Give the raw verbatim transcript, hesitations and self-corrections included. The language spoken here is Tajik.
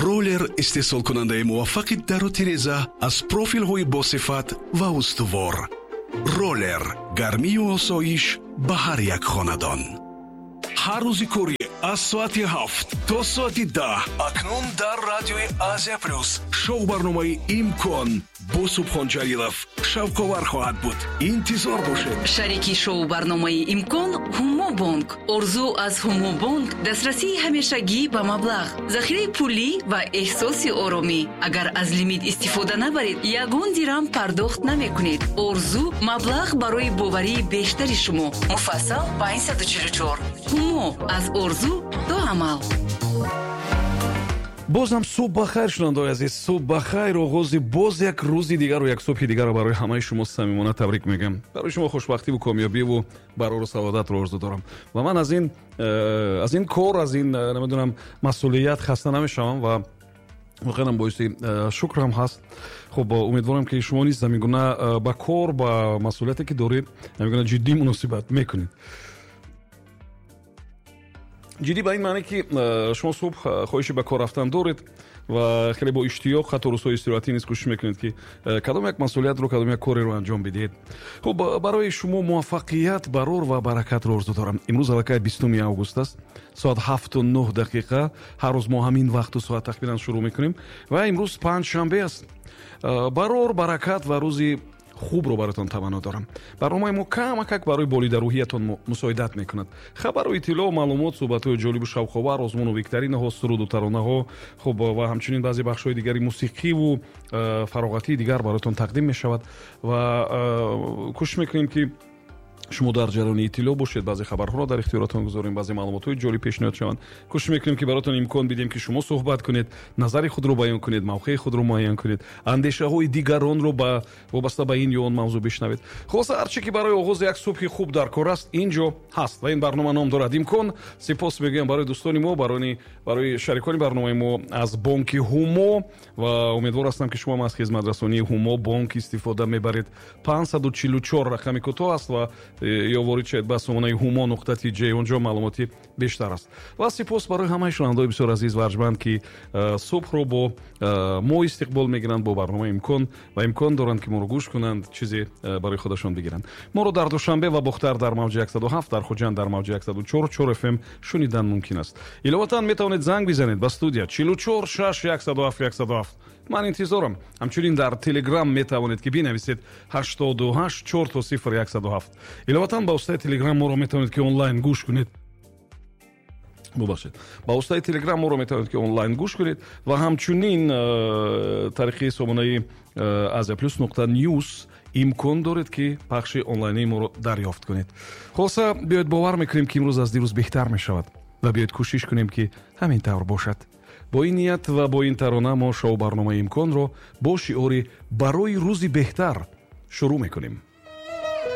Роллер истеҳсолкунандаи муваффақи дару тиреза аз профилҳои босифат ва устувор. Роллер гармию осоиш ба ҳар як хонадон. Ҳар рӯзи корӣ аз соати ҳафт то соати даҳ акнун дар радиои Азия Плюс шоу барномаи Имкон бо Субҳон Ҷалилов шавқовар хоҳад буд. Интизор бошед. Шарики шоу барномаи Имкон Ҳумобонк. Орзу аз Ҳумобонк дастрасии ҳамешагӣ ба маблағ, захираи пулӣ ва эҳсоси оромӣ. Агар аз лимит истифода набаред, ягон дирам пардохт намекунед. Орзу маблағ барои боварии бештари шумо. Муфассал панҷсаду чилу чор. Ҳумо аз орзу то амал. Боз ҳам субҳ ба хайр, шунавандаои азиз, субҳ ба хайр. Оғози боз як рӯзи дигару як субҳи дигарро барои ҳамаи шумо самимона табрик мегӯям. Барои шумо хушбахтиву комёбиву барору саодатро орзу дорам ва ман аз ин э, аз ин кор, аз ин э, намедонам, масъулият хаста намешавам ва воқеан боиси э, шукрам ҳаст. Хуб, умедворам, ки шумо низ ҳамин гуна ба кор, ба масъулияте, ки доред, ҳамин гуна ҷиддӣ муносибат мекунед. Ҷиддӣ ба ин маъне, ки э, шумо субҳ э, хоҳиши ба кор рафтан доред ва хеле бо иштиёқ, ҳатто рӯзҳои истироҳатӣ низ кӯшиш мекунед, ки э, кадом як масъулиятро, кадом як кореро анҷом бидиҳед. Хуб, барои шумо муваффақият, барор ва баракатро орзу дорам. Имрӯз аллакай бистуми август аст, соат ҳафту нӯҳ дақиқа. Ҳар рӯз мо ҳамин вақту соат тахминан шурӯъ мекунем ва имрӯз панҷшанбе аст. Барор, баракат ва рӯзи хубро бароятон таманно дорам. Барномаи мо камакак барои болидарӯҳиятон мусоидат мекунад. Хабару иттилоъ, маълумот, суҳбатҳои ҷолибу шавқовар, озмуну викторинаҳо, суруду таронаҳо, хуб, ва ҳамчунин баъзе бахшҳои дигари мусиқиву э, фароғатии дигар бароятон тақдим мешавад ва э, кӯшиш мекунем, ки шумо дар ҷараёни иттилоъ бошед, баъзе хабарҳоро дар ихтиёротон гузорем, баъзе маълумотҳои ҷолиб пешниҳод шаванд. Кӯшиш мекунем, ки баротон имкон бидем, ки шумо суҳбат кунед, назари худро баён кунед, мавқеи худро муайян кунед, андешаҳои дигаронро ба вобаста ба ин ё он мавзӯъ бишнавед. Хулоса, ҳарче ки барои оғози як субҳи хуб дар кор аст, ин ҷо ҳаст ва ин барнома ном дорад Имкон. Сипос мегӯям барои дӯстони мо, барои шарикони барномаи мо аз бонки Ҳумо ва умедвор ҳастам, ки шумо аз хизматрасонии Ҳумо бонк истифода мебаред. Панҷсаду чилу чор рақами кӯтоҳ аст ва ё ворид шавед ба сомонаи ҳумо нуқта тиҷ, онҷо маълумоти бештар аст. Ва сипос барои ҳамаи шунавандаои бисёр азиз ва арҷманд, ки э, субҳро бо э, мо истиқбол мегиранд, бо барномаи Имкон, ва имкон доранд, ки моро гӯш кунанд, чизе э, барои худашон бигиранд. Моро дар Душанбе ва Бохтар дар мавҷи яксаду ҳафт, дар Хуҷанд дар мавҷи яксаду чор фм шунидан мумкин аст. Иловатан метавонед занг бизанед ба студия чилу чор шаш яксаду ҳафт яксаду ҳафт. Ман интизорам. Ҳамчунин дар Телеграм метавонед, ки бинависед ҳаштоду ҳашт чор то сифр яксаду ҳафт. Иловатан ба воситаи Телеграм моро метавонед, ки онлайн гӯш кунед. Бубахшед, ба воситаи Телеграм моро метавонед, ки онлайн гӯш кунед ва ҳамчунин э, тариқи сомонаи э, Азия Плюс нуқта ньюс имкон доред, ки пахши онлайнии моро дарёфт кунед. Хулоса, биёед бовар мекунем, ки имрӯз аз дирӯз беҳтар мешавад, ва биёед кӯшиш кунем, ки ҳамин тавр бошад. Бо ин ният ва бо ин тарона мо шоу барномаи Имконро бо шиори «Барои рӯзи беҳтар» шурӯъ мекунем.